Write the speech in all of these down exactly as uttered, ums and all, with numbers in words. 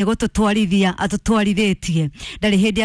Nĩ gũtũtwarithia atũtwarithĩtie, ndarĩ hĩndĩ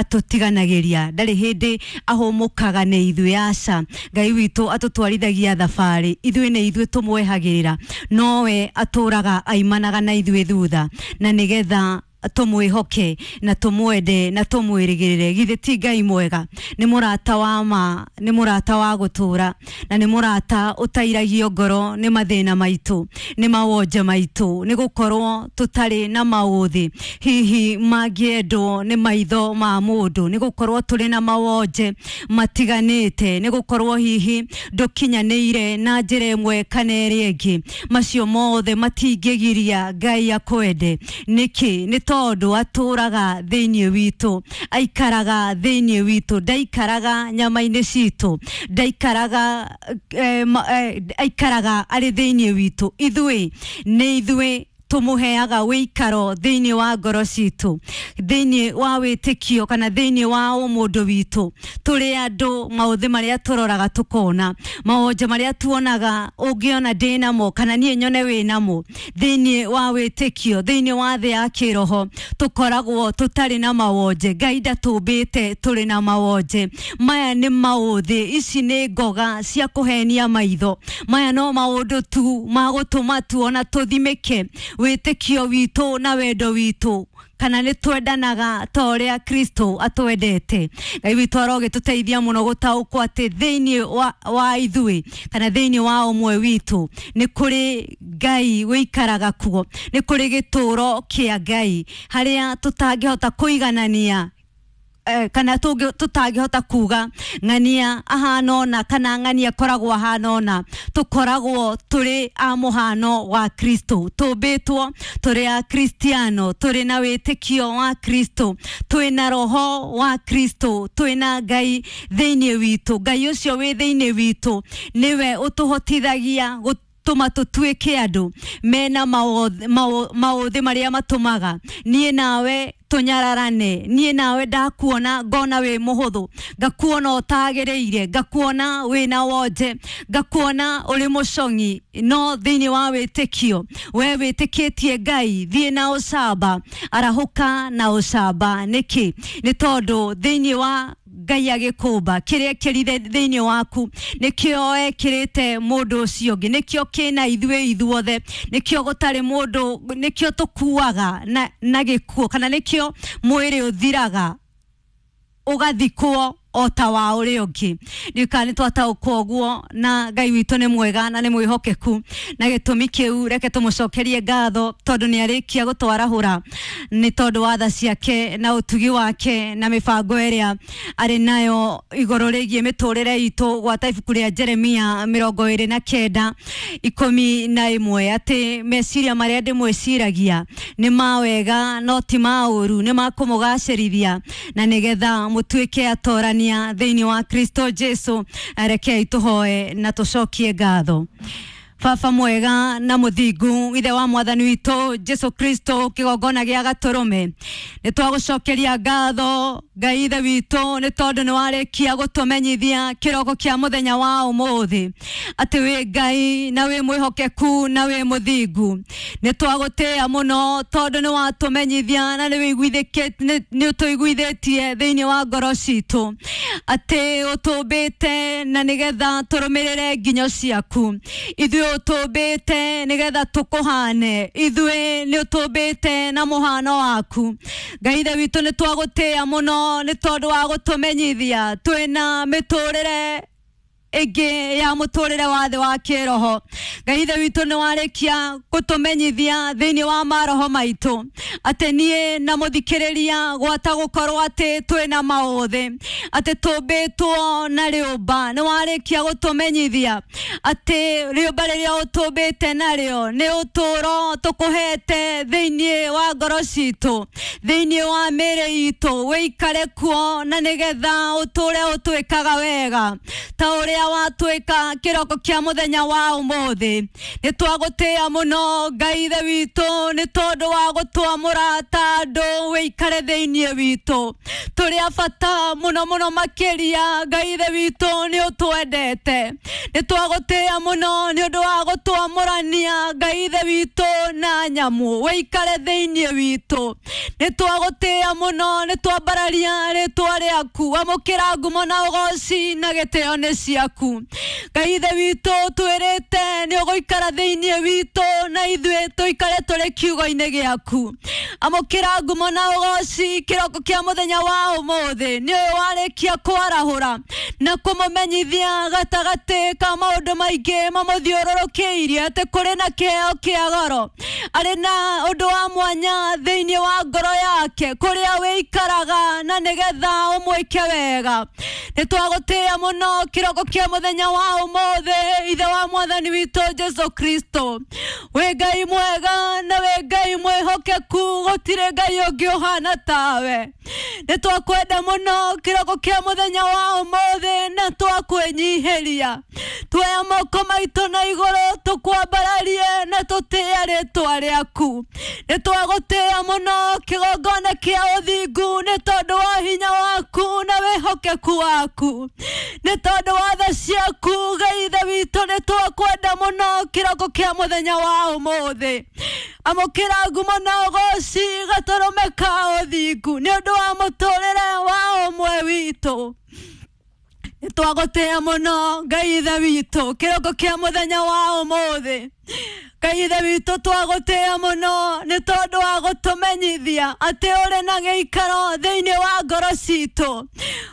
atũtiganagĩria, ndarĩ hĩndĩ ahũmũkaga nĩ ithuĩ. Aca, Ngai witũ atũtwarithagia thabarĩ, ithuĩ nĩ ithuĩ tũmwehagĩrĩra, nowe atũraga aimanaga na ithuĩ thutha, na nĩgetha tũmwĩhoke na tũmwende na tũmwĩrĩgĩrĩre. Githĩ ti Ngai mwega? Nĩ mũrata wa ma, nĩ mũrata wa gũtũra, na nĩ mũrata ũtairagio ngoro nĩ mathĩna maitũ, nĩ mawonje maitũ, nĩ gũkorwo tũtarĩ na maũthĩ hihi mangĩendwo nĩ maitho ma mũndũ, nĩ gũkorwo tũrĩ na mawonje matiganĩte, nĩ gũkorwo hihi ndũkinyanĩire na njĩra ĩmwe kana ĩrĩa ĩngĩ. Macio mothe matingĩgiria Ngai akwende. Nĩkĩ? Nĩ tondũ atũraga thĩinĩ witũ, aikaraga thĩinĩ witũ, ndaikaraga nyama-inĩ citũ, ndaikaraga eh, eh, aikaraga arĩ thĩinĩ witũ. Ithuĩ nĩ ithuĩ tumuheaga wĩikaro thĩinĩ wa ngoro citũ, thĩinĩ wa wĩtĩkio kana thĩinĩ wa ũmũndũ witũ. Tũrĩ andũ maũthĩ marĩa tũroraga tũkona, mawonje marĩa tuonaga, ũngĩona ndĩ namo kana niĩ nyone wĩ namo, thĩinĩ wa wĩtĩkio, thĩinĩ wa thĩ ya kĩroho, tũkoragwo tũtarĩ na mawonje. Ngai ndatũmbĩte tũrĩ na mawonje. Maya nĩ maũthĩ, ici nĩ ngoga cia kũhenia maitho. Maya no maũndũ tu ma gũtũma tuona tũthimĩke wĩtĩkio witũ na wendo witũ, kana nĩ twendanaga ta ũrĩa Kristo atwendete. Ngai witũ arogĩtũteithia mũno gũtaũkwo atĩ thĩinĩ wa, wa ithuĩ kana thĩinĩ wa ũmwe witũ nĩ kũrĩ Ngai wĩikaraga kuo, nĩ kũrĩ gĩtũro kĩa Ngai harĩa tũtangĩhota kũiganania eh, kana tũtangĩhota kuga ng'ania ahana ũna kana ng'ania akoragwo ahana ũna. Tũkoragwo tũrĩ a mũhano wa Kristo, tũmbĩtwo tũrĩ a Kristiano, tũrĩ na wĩtĩkio wa Kristo, twĩ na roho wa Kristo, twĩ na Ngai thĩinĩ witũ. Ngai ũcio wĩ thĩinĩ witũ nĩwe ũtũhotithagia tũma tũtuĩke andũ mena maũthĩ marĩa matũmaga niĩ nawe tũnyararane. Niĩ nawe ndakuona ngona wĩ mũhũthũ, ngakuona ũtagĩrĩire, ngakuona wĩna wonje, ngakuona ũrĩ mũcong'i, no thĩinĩ wa wĩtĩkio we wĩtĩkĩtie Ngai, thiĩ na ũcamba, arahũka na ũcamba. Nĩkĩ? Nĩ tondũ thĩinĩ wa Ngai agĩkũmba kĩrĩa ekĩrire thĩinĩ waku nĩkĩo ekĩrĩte mũndũ ũcio ũngĩ, nĩkĩo kĩna ithuĩ ithuothe, nĩkĩo gũtarĩ mũndũ, nĩkĩo tũkuaga na, na gĩkuũ, kana nĩkĩo mwĩrĩ ũthiraga ũgathikwo o ta wa ũrĩa ũngĩ. Ndiũĩ nĩ twataũkwo ũguo, na Ngai witũ nĩ mwega na nĩ mwĩhokeku, na gĩtũmi kĩu reke tũmũcokerie ngatho tondũ nĩ arĩkia gũtwarahũra nĩ tondũ wa tha ciake na ũtugi wake na mĩbango ĩrĩa arĩ nayo igũrũ rĩgiĩ mĩtũrĩre itũ. Gwata ibuku rĩa Jeremia mĩrongo ĩrĩ na kenda ikũmi na ĩmwe, atĩ meciria marĩa ndĩmwĩciragia nĩ ma wega no ti ma ũru, nĩ ma kũmũgacĩrithia na nĩgetha mũtuĩke atorania thĩinĩ wa Kristo Jesu. Rekei tũhoe na tũcokie ngatho. Baba mwega na mũthingu, ithe wa mwathani witũ Jesu Kristo, kĩgongona gĩa gatũrũme, nĩ twagũcokeria ngatho Ngai ithe witũ nĩ tondũ nĩ warĩkia gũtũmenyithia kĩroko kĩa mũthenya wa ũmũthĩ atĩ wĩ Ngai na wĩ mwĩhokeku na wĩ mũthingu. Nĩ twagũtĩĩa mũno tondũ nĩ watũmenyithia na nĩ ũtũiguithĩtie thĩinĩ wa ngoro citũ atĩ ũtũmbĩte na nĩgetha tũrũmĩrĩre nginyo ciaku. Ithuĩ ũtũmbĩte nĩgetha tũkũhane, ithuĩ nĩ ũtũmbĩte na mũhano waku. Ngai ithe witũ nĩ twagũtĩĩa mũno nĩ tondũ wa gũtũmenyithia twĩna mĩtũrĩre ĩngĩ ya mũtũrĩre wa thĩ wa kĩroho. Ngai ithe witũ nĩ warĩkia gũtũmenyithia thĩinĩ wa maroho maitũ atĩ niĩ na mũthikĩrĩria gwata gũkorwo atĩ twĩna maũthĩ, atĩ tũmbĩtwo na rĩũmba. Nĩ warĩkia gũtũmenyithia atĩ rĩũmba rĩrĩa ũtũmbĩte narĩo nĩ ũtũro tũkũhete thĩinĩ wa ngoro citũ, thĩinĩ wa mĩĩrĩ itũ, wĩikare kuo na nĩgetha ũtũre ũtwĩkaga wega ta ũrĩa ũrĩa watwĩka kĩroko kĩa mũthenya wa ũmũthĩ. Nĩ twagũtĩĩa mũno Ngai Ithe witũ nĩ tondũ wa gũtwamũra ta andũ wĩikare thĩinĩ witũ. Tũrĩ a bata mũno mũno makĩria Ngai Ithe witũ nĩ ũtwendete. Nĩ twagũtĩĩa mũno nĩ ũndũ wa gũtwamũrania Ngai Ithe witũ na nyamũ wĩikare thĩinĩ witũ. Nĩ twagũtĩĩa mũno, nĩ twambararia rĩtwa rĩaku, amũkĩra ngumo na ũgoci na gĩtĩo nĩ ciaku. Ngai Ithe witũ twĩrĩte nĩ ũgũikara thĩinĩ witũ na ithuĩ tũikare tũrĩ kiugo-inĩ gĩaku. Amũkĩra ngumo na ũgoci kĩroko kĩa mũthenya wa ũmũthĩ, nĩ ũyũ warĩkia kwarahũra na kũmũmenyithia gatagatĩ ka maũndũ maingĩ mamũthiũrũrũkĩirie atĩ kũrĩ na kĩheo kĩa goro, arĩ na ũndũ wa mwanya thĩinĩ wa ngoro yake kũrĩa wĩikaraga na nĩgetha ũmwĩke wega. Nĩ twagũtĩĩa mũno kĩroko kĩa mũthenya wa ũmũthĩ, Ithe wa Mwathani witũ Jesu Kristo. Wĩ Ngai mwega na wĩ Ngai mwĩhokeku, gũtirĩ Ngai ũngĩ ũhana tawe. Nĩ twakwenda mũno kĩroko kĩa mũthenya wa ũmũthĩ na twakwĩnyihĩria. Tuoya moko maitũ na igũrũ tũkwambararie na tũtĩĩe rĩtwa rĩaku. Nĩ twagũtĩĩa mũno kĩgongona kĩa ũthingu nĩ tondũ wa hinya waku na wĩhokeku waku, nĩ tondũ wa tha ciaku Ngai Ithe witũ. Nĩ twakwenda mũno kĩroko kĩa mũthenya wa ũmũthĩ. Amũkĩra ngumo na ũgoci gatũrũme ka ũthingu nĩ ũndũ wa mũtũrĩre wa ũmwe witũ. Nĩ twagũtĩĩa mũno Ngai Ithe witũ kĩroko kĩa mũthenya wa ũmũthĩ. Ngai Ithe witũ twagũtĩĩa mũno nĩ tondũ wa gũtũmenyithia atĩ ũrĩ na gĩikaro thĩinĩ wa ngoro citũ.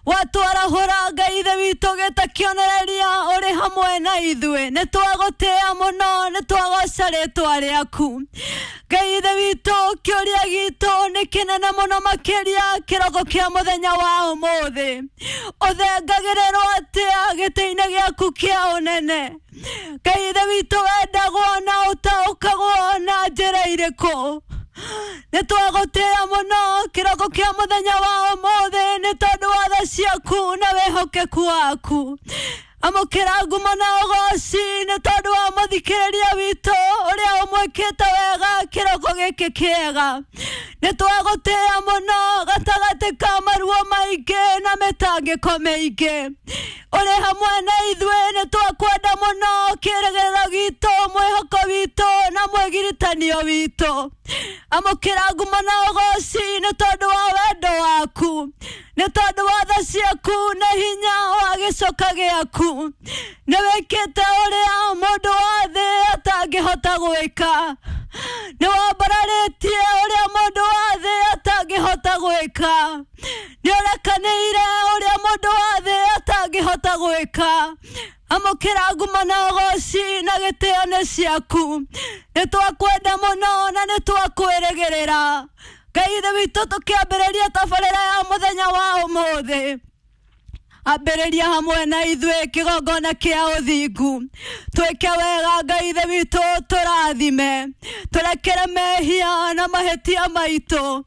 Watwarahũra Ngai Ithe witũ gĩta kĩonereria ũrĩ hamwe na ithuĩ. Nĩ twagũtĩĩa mũno, nĩ twagoca rĩtwa rĩaku. Ngai Ithe witũ kĩũria gitũ nĩ kĩnene mũno makĩria kĩroko kĩa mũthenya wa ũmũthĩ. Ũthengagĩrĩrwo atĩa gĩtĩ-inĩ gĩaku kĩa ũnene? Ngai Ithe witũ wendagwo na ũtaũkagwo na njĩra irĩkũ? Nĩ twagũtĩĩa mũno kĩroko kĩa mũthenya wa ũmũthĩ nĩ tondũ wa tha ciaku na wĩhokeku waku. Amũkĩra ngumo na ũgoci nĩ tondũ wa mũthikĩrĩria witũ ũrĩa ũmwĩkĩte wega kĩroko gĩkĩ kĩega. Nĩ twagũtĩĩa mũno gatagatĩ ka maruo maingĩ na mĩtangĩko mĩingĩ. Ũrĩ hamwe na ithuĩ, nĩ twakwenda mũno kĩĩrĩgĩrĩro gitũ, mwĩhoko witũ na mwĩgiritanio witũ. Amũkĩra ngumo na ũgoci nĩ tondũ wa wendo waku, nĩ tondũ wa tha ciaku na hinya wa gĩcoka gĩaku. Nĩ wĩkĩte ũrĩa mũndũ wa thĩ atangĩhota gwĩka. Nĩ wambararĩtie ũrĩa mũndũ wa thĩ atangĩhota gwĩka. Nĩ ũrekanĩire ũrĩa mũndũ wa thĩ atangĩhota gwĩka. Amũkĩra ngumo na ũgoci na gĩtĩo nĩ ciaku. Nĩ twakwenda mũno na nĩ twakwĩrĩgĩrĩra. Ngai Ithe witũ tũkĩambĩrĩria tabarĩra ya mũthenya wa ũmũthĩ, ambĩrĩria hamwe na ithuĩ kĩgongona kĩa ũthingu. Twĩke wega Ngai Ithe witũ, tũrathime, tũrekere mehia na mahĩtia maitũ,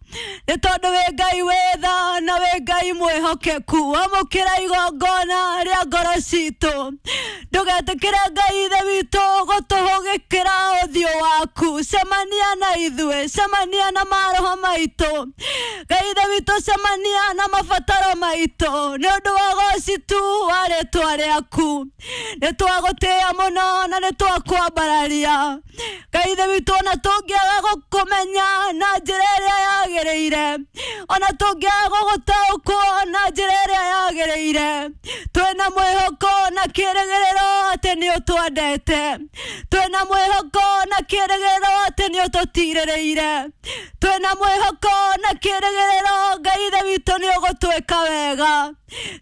nĩ tondũ wĩ Ngai wĩ tha na wĩ Ngai mwĩhokeku. Amũkĩra igongona rĩa ngoro citũ. Ndũgetĩkĩre Ngai Ithe witũ gũtũhũgĩkĩra ũthiũ waku. Cemania na ithuĩ, cemania na maroho maitũ. Ngai Ithe witũ cemania na mabataro maitũ nĩ ũndũ wa ũgoci tu wa rĩtwa rĩaku. Nĩ twagũtĩĩa mũno na nĩ twakwambararia. Ngai Ithe witũ, ona tũngĩaga gũkũmenya na njĩra ĩrĩa yagĩrĩire, ona tũngĩaga gũgũtaũkwo na njĩra ĩrĩa yagĩrĩire, twĩna mwĩhoko na kĩĩrĩgĩrĩro atĩ nĩ ũtwendete. Twĩna mwĩhoko na kĩĩrĩgĩrĩro atĩ nĩ ũtũtirĩrĩire. Twĩna mwĩhoko na kĩĩrĩgĩrĩro Ngai Ithe witũ nĩ ũgũtwĩka wega.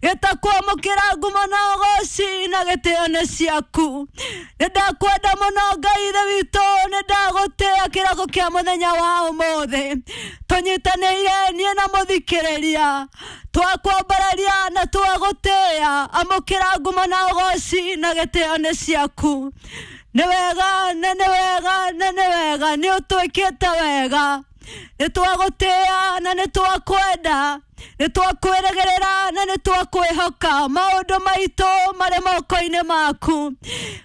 Gĩtakwamũkĩra ngumo na ũgoci na gĩtĩo nĩ ciaku. Nĩ ndakwenda mũno Ngai Ithe witũ, nĩ ndagũtĩĩa kĩroko kĩa mũthenya wa ũmũthĩ. Tũnyitanĩire niĩ na mũthikĩrĩria, twakwambararia na twagũtĩĩa. Amũkĩra ngumo na ũgoci na gĩtĩo nĩ ciaku. Nĩ wega na nĩ wega na nĩ wega, nĩ ũtwĩkĩte wega. Nĩ twagũtĩĩa na nĩ twakwenda, nĩ twakwĩrĩgĩrĩra na nĩ twakwĩhoka. Maũndũ maitũ marĩ moko-inĩ maku.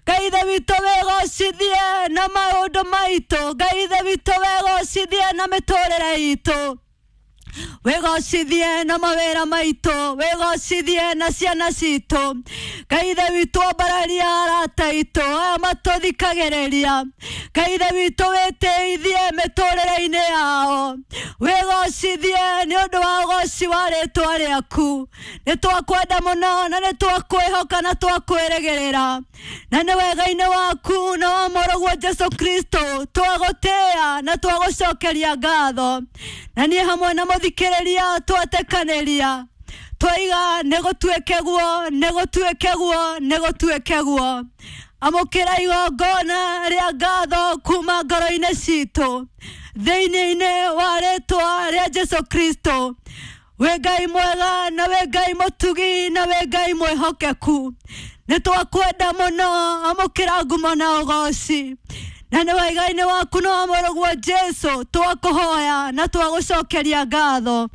Ngai Ithe witũ, wĩgocithie na maũndũ maitũ. Ngai Ithe witũ, wĩgocithie na mĩtũrĩre itũ, wĩgocithie na mawĩra maitũ, wĩgocithie na ciana citũ. Ngai Ithe witũ, ambararia arata aitũ aya matũthikagĩrĩria. Ngai Ithe witũ, wĩtĩithie mĩtũrĩre-inĩ yao, wĩgocithie nĩ ũndũ wa ũgoci wa rĩtwa rĩaku. Nĩ twakwenda mũno na nĩ twakwĩhoka na twakwĩrĩgĩrĩra, na nĩ wega-inĩ waku na wa Mũrũguo Jesu Kristo twagũtĩĩa na twagũcokeria ngatho. Na niĩ hamwe na mũthikĩrĩria twatekanĩria twaiga nĩ gũtuĩke guo, nĩ gũtuĩke guo, nĩ gũtuĩke guo. Amũkĩra igongona rĩa ngatho kuma ngoro-inĩ citũ thĩinĩ-inĩ wa rĩtwa rĩa Jesu Kristo. Wĩ Ngai mwega na wĩ Ngai mũtugi na wĩ Ngai mwĩhokeku. Nĩ twakwenda mũno, amũkĩra ngumo na ũgoci. Na nĩ wega-inĩ waku na wa Mũrũguo Jesu twakũhoya na twagũcokeria ngatho,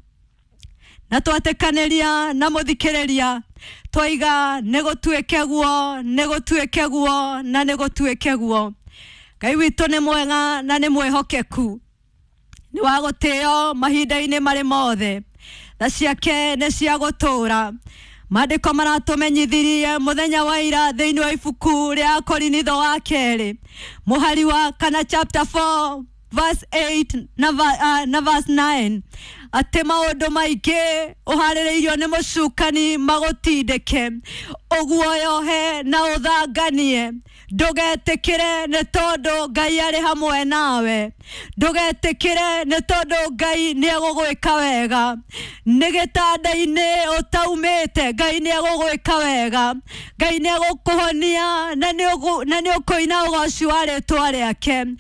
na twatekanĩria na mũthikĩrĩria twaiga nĩ gũtuĩke guo, nĩ gũtuĩke guo, na nĩ gũtuĩke guo. Ngai witũ nĩ mwega na nĩ mwĩhokeku, nĩ wa gũtĩo mahinda-inĩ marĩ mothe. Tha ciake nĩ cia gũtũũra. Maandĩko maratũmenyithirie mũthenya wa ira thĩinĩ wa ibuku rĩa Korinitho wa kerĩ mũhari wa kana chapter four verse eight na, uh, na verse nine atĩ maũndũ maingĩ ũharĩrĩirio nĩ mũcukani magũtindĩke ũguoyohe na ũthanganie. Ndũgetĩkĩre nĩ tondũ Ngai arĩ hamwe nawe. Ndũgetĩkĩre nĩ tondũ Ngai nĩ egũgwĩka wega. Nĩ gĩtanda-inĩ ũtaumĩte, Ngai nĩ egũgwĩka wega. Ngai nĩ egũkũhonia na nĩ ũkũina ũgoci wa rĩtwa rĩake.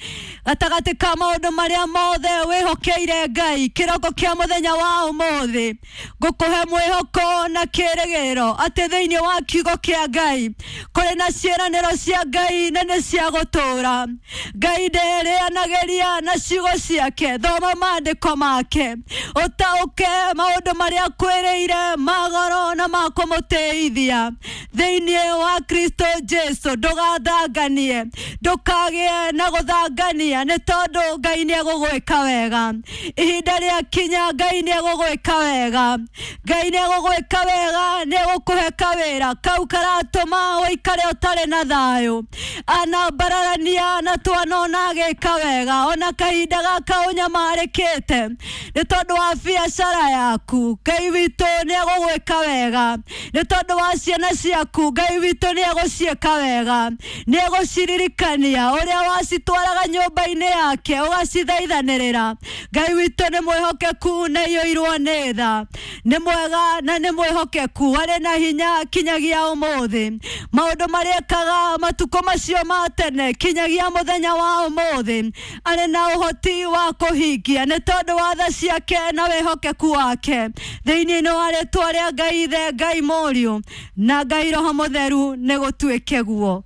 Gatagatĩ ka maũndũ marĩa mothe wĩhokeire Ngai kĩroko kĩa mũthenya wa ũmũthĩ, ngũkũhe mwĩhoko na kĩĩrĩgĩrĩro atĩ thĩinĩ wa kiugo kĩa Ngai kũrĩ na ciĩranĩro cia Ngai na nĩ cia gũtũũra. Ngai nderĩanagĩria na ciugo ciake. Thoma maandĩko make ũtaũke maũndũ marĩa akwĩrĩire ma goro na ma kũmũtĩithia thĩinĩ wa Kristo Jesu. Ndũgathanganie, ndũkagĩe na gũthangania nĩ tondũ Ngai nĩ egũgwĩka wega. Ihinda rĩakinya Ngai nĩ egũgwĩka wega. Ngai nĩ egũgwĩka wega, nĩ egũkũhe kawĩra kau karatũma ũikare ũtarĩ na thayũ. Anambararania na twanona agĩka wega ona kahinda gaka ũnyamarĩkĩte nĩ tondũ wa biacara yaku. Ngai witũ nĩ egũgwĩka wega nĩ tondũ wa ciana ciaku. Ngai witũ nĩ egũciĩka wega, nĩ egũciririkania ũrĩa wacitwaraga nyũmba-inĩ yake ũgacithaithanĩrĩra. Ngai witũ nĩ mwĩhokeku na iyũirwo nĩ tha, nĩ mwega na nĩ mwĩhokeku, arĩ na hinya kinyagia ũmũthĩ. Maũndũ marĩa ekaga matukũ macio ma tene kinyagia mũthenya wa ũmũthĩ arĩ na ũhoti wa kũhingia nĩ tondũ wa tha ciake na wĩhokeku wake. Thĩinĩ wa rĩtwa rĩa Ngai Ithe, Ngai Mũriũ na Ngai Roho Mũtheru nĩ gũtuĩke guo.